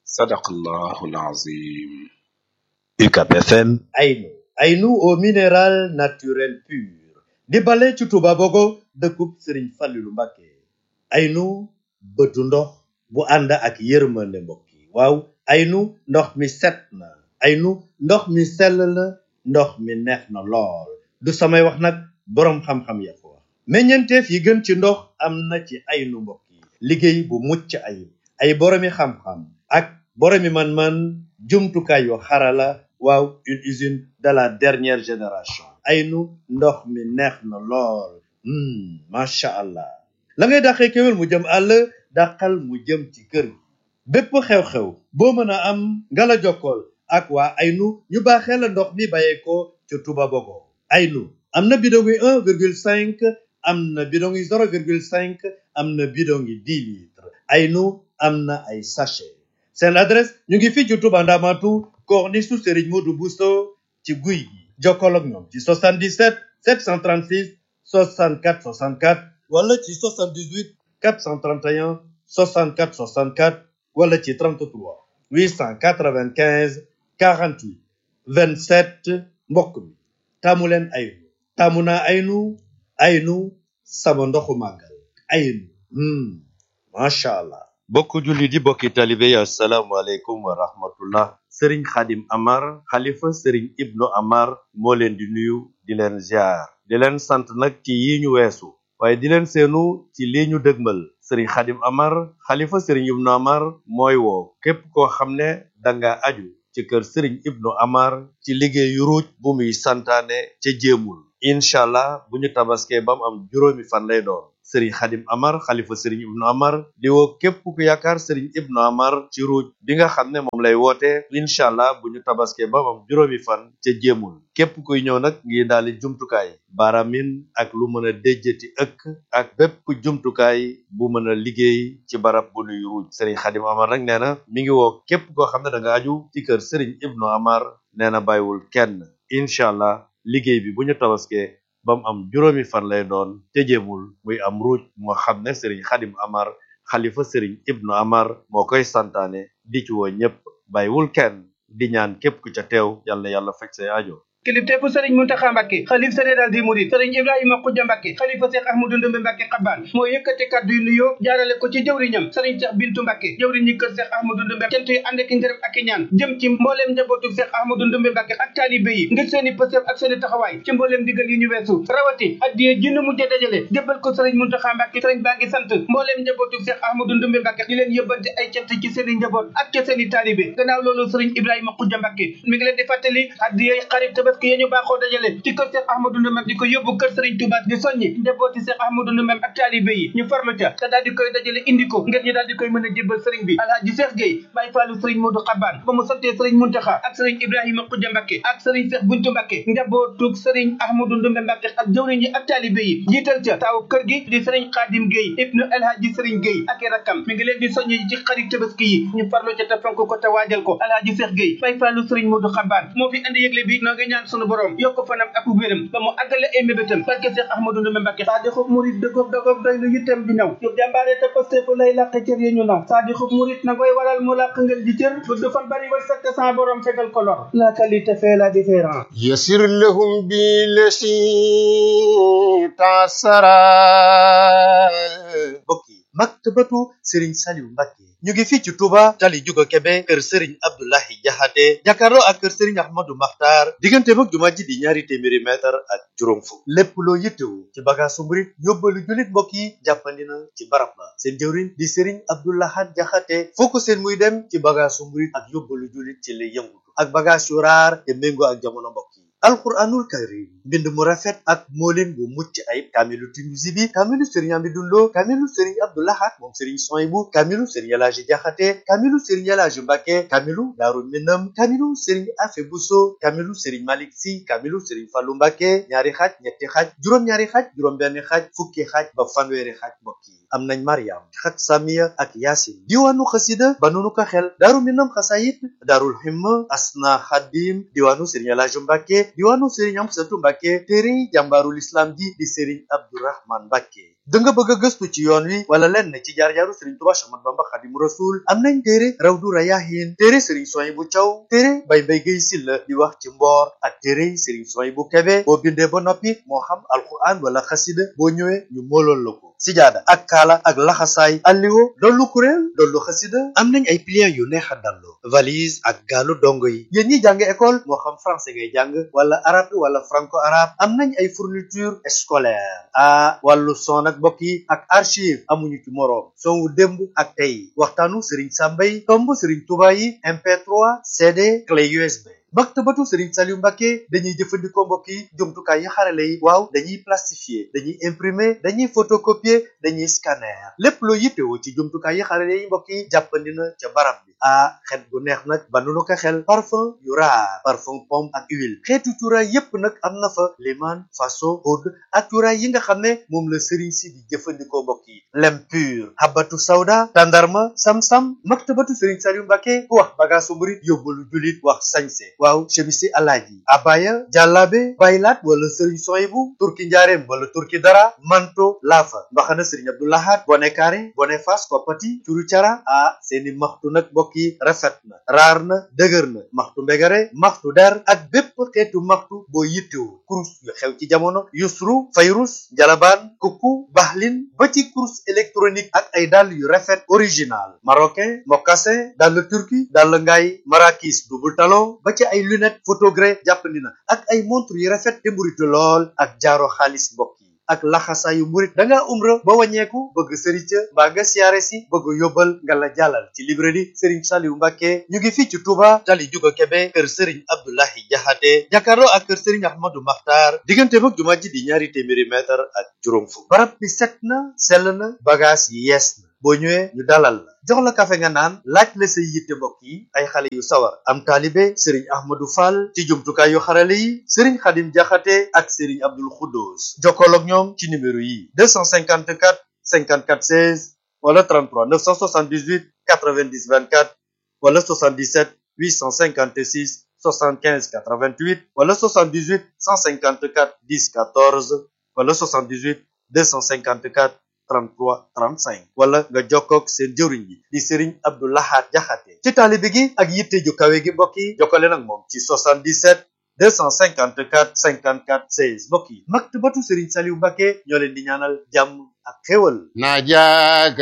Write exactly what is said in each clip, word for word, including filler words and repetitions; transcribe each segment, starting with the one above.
Sadaqallahul Azim. U C A B F M. Aynu Aynu au minéral naturel pur di bale ci Touba Bogo dëkkub Serigne Fallilou Mbacké. Aynu bëtu ndox bu ànd ak yërmande mbokk yi waaw Aynu ndox mi set na Aynu ndox mi sell na ndox mi neex na lool du samay wax nag boroom xam-xam ya ko wax meññeenteef yi gën ci ndox am na ci Aynu mbokk yi liggéey bu mucc ayib ay boroomi xam-xam ak boroomi man-man jumtukaay yu xarala waaw une usine de la dernière génération Aynu ndox mi neex na lool macha allah la ngay dàqee kéwél mu jëm àll dàqal mu jëm ci kër gi bépp xew-xew boo mën a am nga la jokkool ak waa Aynu ñu baaxee la ndox mi bàyyeekoo ca Touba Bogo Aynu am na bidon yi un virgule cinq am na bidon yi zéro virgule cinq am na bidon yi dix litres Aynu am na ay sachet seen adresse ñu ngi fii ci Touba Ndamatu corniche su Serigne Modou Bousso ci guy gi jokkool ak ñoom ci soixante-dix-sept sept cent trente-six soixante-quatre soixante-quatre wala ci soixante-dix-huit quatre cent trente et un soixante-quatre soixante-quatre wala ci trente-trois huit cent quatre-vingt-quinze quarante-huit vingt-sept mbokk mi taamu leen Aynu taamu naa Aynu Aynu sama ndoxu màggal Aynu macha allah. bokk julli di bokki talibe yi asalaamaaleykum wa rahmatullah Serigne Khadim Amar xalifa Serigne Ibnu Amar moo leen di nuyu di leen ziar di leen sant nag ci yi ñu weesu waaye di leen seenu ci lii ñu dëgmal Serigne Khadim Amar xalifa Serigne Ibnu Amar mooy woo képp koo xam ne danga aju ci kër Serigne Ibnu Amar ci liggéeyu ruuj bu muy santaane ca jéemul incha allah bu ñu tabaskee ba mu am juróomi fan lay doon Serigne Khadim Amar xalifa Serigne Ibnu Amar di woo képp ku yaakaar Serigne Ibnu Amar ci ruuj bi nga xam ne moom lay woote incha allah bu ñu tabaskee ba mu am juróomi fan ca jéemul képp kuy ñëw nag ngi daali jumtukaay baaramin ak lu mën a déjjati ëkk ak bépp jumtukaay bu mën a liggéey ci barab bu nuy ruuj Serigne Khadim Amar nag nee na mi ngi woo képp koo xam ne da nga aju ci kër Serigne Ibnu Amar nee na bàyyiwul kenn incha allah liggéey bi bu ñu tabaskee ba mu am juróomi fan lay doon te jéemul muy am ruuj moo xam ne Serigne Khadim Amar xalifa Serigne Ibnu Amar moo koy santaane di ci woo ñépp bàyyiwul kenn di ñaan képp ku ca teew yal na yàlla faj say aajo kilifteefu sëriñ Muntaxa Mbàkke xalif général des mourides sëriñ Ibrahima Xuja Mbàkke xalifa Seex Ahmadu Ndumbe Mbàkke Xabaan moo yëkkati kàddu yu nuyoo jaarale ko ci jëwriñam sëriñ Seex Bintu Mbàkke jëwriñ ñi kër Seex Ahmadu Ndumbe cant yi ànd ak ngërëm ak i ñaan jëm ci mbooleem njabootu Seex Ahmadu Ndumbe Mbàkke ak taalibe yi ngir seeni pësëf ak seeni taxawaay ci mbooleem digal yi ñu weesu rawati addiye jinnu mujj dajale jébbal ko sëriñ Muntaxa Mbàkke sëriñ baa ngi sant mbooleem njabootu Seex Ahmadu Ndumbe Mbàkke di leen yëbbante ay cant ci seeni njaboot ak ci seeni taalibe gannaaw loolu sëriñ Ibrahima Xuja Mbàkke mi ngi leen di fàttali addiye xarit tabaski yi ñu baaxoo dajale ci kër Seex Ahmadu Ndumbe di ko yóbbu kër Sëriñ Tuubaa di soññi njabooti Seex Ahmadu Ndumbe ak taalibe yi ñu farlu ca te daal di koy dajale indi ko ngir ñu daal di koy mën a jébbal sëriñ bi Alaaji Seex Géey Baay Faalu Sëriñ Moodu Xabaan ba mu santee Sëriñ Muntaxa ak Sëriñ Ibrahima Xuja Mbàkke ak Sëriñ Seex Buntu Mbàkke njabootug Sëriñ Ahmadu Ndumbe Mbàkke ak jëwriñ yi ak taalibe yi jiital ca taaw kër gi di Sëriñ Xaadim Géey ibnu Alaaji Sëriñ Géey ak i rakkam mi ngi leen di soññi ci xarit tabaski yi ñu farlu ca te fonk ko te waajal ko Alaaji Seex Géey Baay Faalu Sëriñ Moodu Xabaan moo fi andi yëgle bi noo ngi ñaan sunu borom yokk fanam ak wéram ba mu àggale ay mébétam barke Seex Ahmadu Ndumbe Mbàkke saadixub murit dëggoog dëggoog doy lu yittam di ñëw yu jàmbaare te pastefu lay làq cër yi ñu naw saadixub murit na koy waral mu làq ngeen ji cër bu du fan bari war sakk sa borom fegal ko lor la qualité fait la différence yasir lahum bi lasi tasara mbokk yi maktabatu Serigne Saliou Mbacké ñu ngi fii ci Touba tali Juga Kebe kër Serigne Abdoulahi Jaxate jàkkaarloo ak kër Serigne Ahmadou Makhtar diggante mag jumaa ji di ñaari téeméeri mètre ak juróom fukk lépp loo yittewu ci bagaasu murit yóbbalu jullit mbokk yi jàppandi na ci barab ba seen jëwriñ di Serigne Abdoulahat Jaxate foo ko seen muy dem ci bagaasu murit ak yóbbalu jullit ci lay yëngutu ak bagaas yu raar te méngoo ak jamono mbokk yi alquranul karim mbind mu rafet ak moolin bu mucc ayib kaamilu Tinuusi bi kaamilu Serigne Amidou Lo kaamilu Serigne Abdou Lahad moom Serigne Souhaïbou kaamilu Serigne Elaaji Jaxate kaamilu Serigne Elaaji Mbàkke kaamilu Daaru Minam kaamilu Serigne Afe Buso kaamilu Serigne Malick Si kaamilu Serigne Fallu Mbàkke ñaari xaaj ñetti xaaj juróom-ñaari xaaj juróom-benn xaaj fukki xaaj ba fanweeri xaaj mbokk yi am nañ Mariam xat Samiya ak Yaasin diwaanu xasida ba nunu ko xel Daaru Minam xasayit Daarul Himma Asna Xadim diwaanu Serigne Elaaji Mbàkke diwaanu Serigne Amsatu Mbàkke téere jàmbaarul islam ji di Serigne Abdourahman Mbàkke da nga bëgg a gëstu ci yoon wi wala lenn ci jaar-jaaru Serigne Touba Cheikh Ahmadou Bamba Khadimu Rasul am nañ téere Rawdu Rayaahin téere Serigne Souhaïbou Thiaw téere Baye Mbaye Guèye Sylla di wax ci mboor ak téere Serigne Souhaïbou Kébé boo bindee ba noppi moo xam alquran wala xasida boo ñëwee ñu moolool la ko sijaada ak kaala ak laxasaay alliwo dollu kuréel dollu xasida am nañ ay pliants yu neex a dallu valise ak gaalu dongo yi yéen ñi jàng école moo xam français ngay jàng wala arabe wala franco arabe am nañ ay fourniture scolaire ah wàllu son ak mbokk yi ak archive amuñu ci moroom son wu démb ak tey waxtaanu Serigne Samba yi tomb Serigne Touba yi M P trois C D clé U S B maktabatu Serigne Saliou Mbacké dañuy jëfandikoo mbokk yi jumtukaay yi xarale yi waaw dañuy plastifier dañuy imprimer dañuy photocopier dañuy scanner lépp loo yittewoo ci jumtukaay yi xarale yi mbokk yi jàppandi na ca barab bi ah xet gu neex nag banu ko xel parfum yu raar parfum pomme ak huile xeetu cuuraay yépp nag am na fa liman faso oud ak cuuraay yi nga xam ne moom la Serigne si di jëfandikoo mbokk yi lem pur habatu sawda tandarma sam-sam maktabatu Serigne Saliou Mbacké ku wax bagaasu murit yóbbalu julit wax sañse waaw chemisi alaaji abaya jàllaabe baylaat wala Serigne Souhaïbou turki njaareem wala turki dara manto laafa mbaxana Serigne Abdou Lahad bone kaare bone fas koppati curu cara ah seeni maxtu nag mbokk yi rafet na raar na dëgër na maxtu mbegare maxtu der ak bépp xeetu maxtu boo yittewoo kurus yu xew ci jamono yusru fayrus jalabaan kukku baxlin ba ci kurus électronique ak ay dàll yu rafet original marocain mocassin dàll turki dàll ngaay marakis double talon ba ci ay lunette photogré jàppandi na ak ay montre yu rafet te mburitu lool ak jaaro xaalis mbokk yi ak laxasaayu murit da ngaa umra ba wàññeeku bëgg sëriñ ca mbaa nga siyaare si bëgg yóbbal nga la jàllal ci librairie Serigne Saliou Mbacké ñu ngi fii ci Touba tali juga Kébé kër Serigne Abdoulahi Jaxate jàkkaarloo ak kër Serigne Ahmadou Makhtar diggante mag jumaa ji di ñaari téeméeri mètre ak juróom fukk barab bi set na sell na bagage yi yees na boo ñëwee ñu dalal la jox la kafe nga naan laaj la say yitte mbokk yi ay xale yu sawar am taalibe Serigne Ahmadou Fall ci jumtukaay yu xarale yi Serigne Khadim Jaxate ak Serigne Abdoul Khoudous jokkool ak ñoom ci numéro yi deux cent cinquante-quatre cinquante-quatre seize wala trente-trois neuf cent soixante-dix-huit quatre-vingt-dix vingt-quatre wala soixante-dix-sept huit cent cinquante-six soixante-quinze quatre-vingt-huit wala soixante-dix-huit cent cinquante-quatre dix quatorze wala soixante-dix-huit deux cent cinquante-quatre trente-trois trente-cinq wala nga jokkoog seen jëwriñ bi di Serigne Abdou Lahad Jaxate ci taalibe gi ak yitte ju kawe gi mbokk yi jokkale nag moom ci soixante-dix-sept deux cent cinquante-quatre cinquante-quatre seize mbokk yi maktabatu Serigne Saliou Mbacké ñoo leen di ñaanal jàmm ak xéwal ناجاك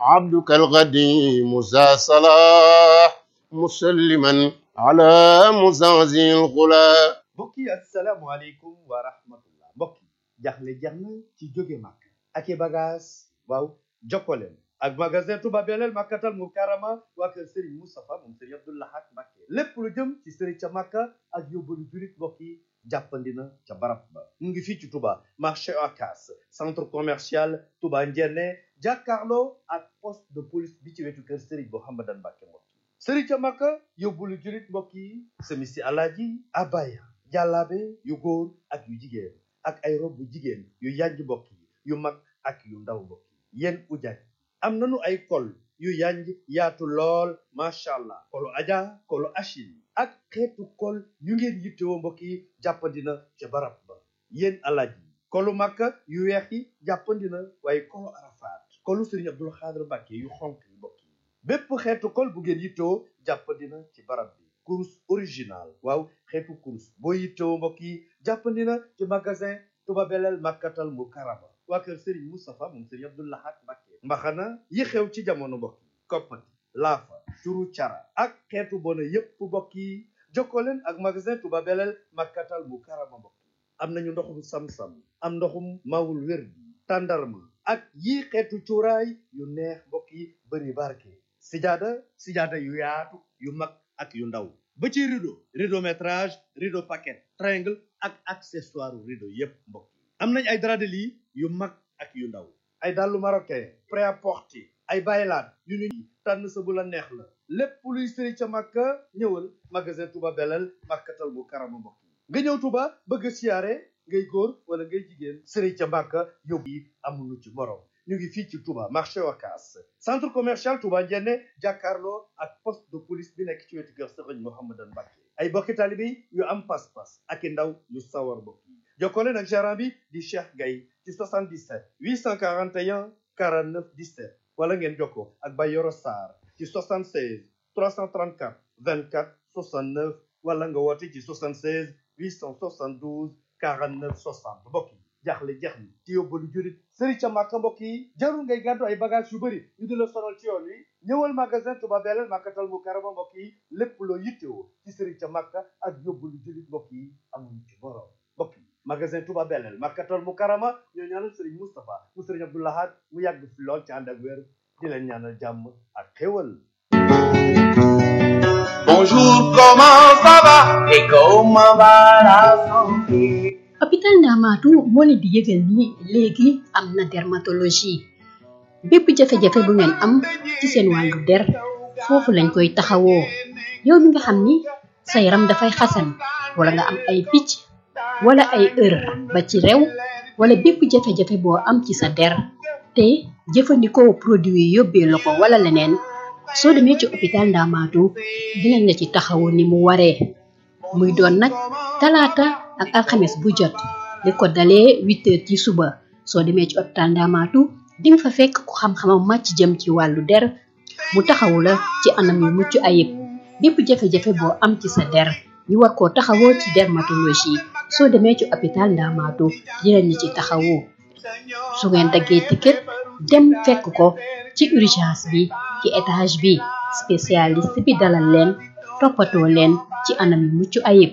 عبدك القديم ذا صلاح مسلما على مزازي الغلا mbokk yi asalaamaaleykum wa rahmatullah mbokk yi jaxle jeex na ci jóge màkk ak i bagage waaw jokkoleen ak magasin Touba Belel Makkatal Mukarrama waa kër Serigne Moustapha moom Serigne Abdou Lahad Mbacké lépp lu jëm ci Serigne ca Makka ak yóbbalu jurit mbokk yi jàppandi na ca barab ba mu ngi fii ci Touba marché Ocass centre commercial Touba Ndiéné jàkkaarloo ak poste de police bi ci wetu kër Serigne Mouhamadan Mbacké mbokk yi Serigne ca Makka yóbbalu jurit mbokk yi semisi alaaji abaya jàllaabe yu góor ak yu jigéen ak ay rob bu jigéen yu yanj mbokk yi yu mag ak yu ndaw mbokk yi yéen ujaaj am nañu ay kol yu yanj yaatu lool macha allah kolu aja kolu achil ak xeetu kol yu ngeen yittewoo mbokk yi jàppandina ca barab ba yéen alaaj yi kolu makka yu weex yi jàppandina waaye kolu arafaat kolu Serigne Abdoul Khadr Mbacké yu xonk yi mbokk yi bépp xeetu kol bu ngeen yittewoo jàppandina ci barab bi kurus original waaw xeetu kurus boo yittewoo mbokk yi jàppandina ci magasin Touba Belel Makkatal Mukarrama waa kër Serigne Moustapha moom Serigne Abdou Lahad Mbacké mbaxana yi xew ci jamono mbokk yi koppati laafa curu cara ak xeetu bona yépp mbokk yi jokkoo leen ak magasin Touba Belel Makkatal Mukarrama mbokk yi am nañu ndoxum sam-sam am ndoxum mawul wér bi tàndarma ak yii xeetu cuuraay yu neex mbokk yi bëri barke sijaada sijaada yu yaatu yu mag ak yu ndaw ba ci rideau rideau métrage rideau paquet triangle ak accessoire rideau yépp mbokk yi am nañ ay drap de lit yu mag ak yu ndaw ay dàllu marocain prêt-à-porter ay baylaat yu ñu tànn sa bu la neex la lépp luy sëri ca Makka ñëwal magasin Touba Belel Makkatal Mukarrama mbokk yi nga ñëw Touba bëgg a siyaare ngay góor wala ngay jigéen sëri ca Makka yóbbu yi amuñu ci morom ñu ngi fii ci Touba marché Ocass centre commercial Touba Ndiéné jàkkaarloo ak poste de police bi nekk ci wetu kër Serigne Mouhamadan Mbacké ay bokki taalibe yu am pas-pas ak i ndaw yu sawar mbokk yi jokkoo leen ak gérant bi di Cheikh Gaye ci soixante-dix-sept huit cent quarante et un quarante-neuf dix-sept wala ngeen jokkoo ak Bayoro Sarr ci soixante-seize trois cent trente-quatre vingt-quatre soixante-neuf wala nga woote ci soixante-seize huit cent soixante-douze quarante-neuf soixante mbokk yi jaaxle jeex ni ci yóbbalu jurit sëriñ ca Màkka mbokk yi jarul ngay gàddu ay bagage yu bëri ñu di la sonal ci yoon wi ñëwal magasin Touba Belel Makkatal Mukarrama mbokk yi lépp loo yittewoo ci sëriñ ca Màkka ak yóbbalu jurit mbokk yi amuñu ci borom mbokk yi magasin Touba Belel Makkatal Mukarrama ñoo ñaanal sëriñ Moustapha mu sëriñ Abdou Lahad mu yàgg fi lool ci ànd ak wér di leen ñaanal jàmm ak xéwal. Bonjour, comment ça va et comment va la santé? hôpital Ndamatou moo leen di yëgal ni léegi am na dermatologie bépp jafe-jafe bu ngeen am ci seen wàllu der foofu lañ koy taxawoo yow mi nga xam ni sa yaram dafay xasan wala nga am ay picc wala ay ër ba ci rew wala bépp jafe-jafe boo am ci sa der te jëfandikoo produit yi yóbbee la ko wala leneen soo demee ci hôpital Ndamatou dinañ la ci taxawu ni mu waree muy doon nag talaata ak alxames bu jot li ko dalee huit heures ci suba soo demee ci hôpital Ndamatou di nga fa fekk ku xam-xamam màcc jëm ci wàllu der mu taxawu la ci anam yu mucc ayib bépp jafe-jafe boo am ci sa der ñu war koo taxawoo ci dermatologie soo demee ci hôpital Ndamatou dinañ la ci taxawu su ngeen daggee ticket dem fekk ko ci urgence bi ci étage bi spécialiste bi dalal leen toppatoo leen ci anam yu mucc ayib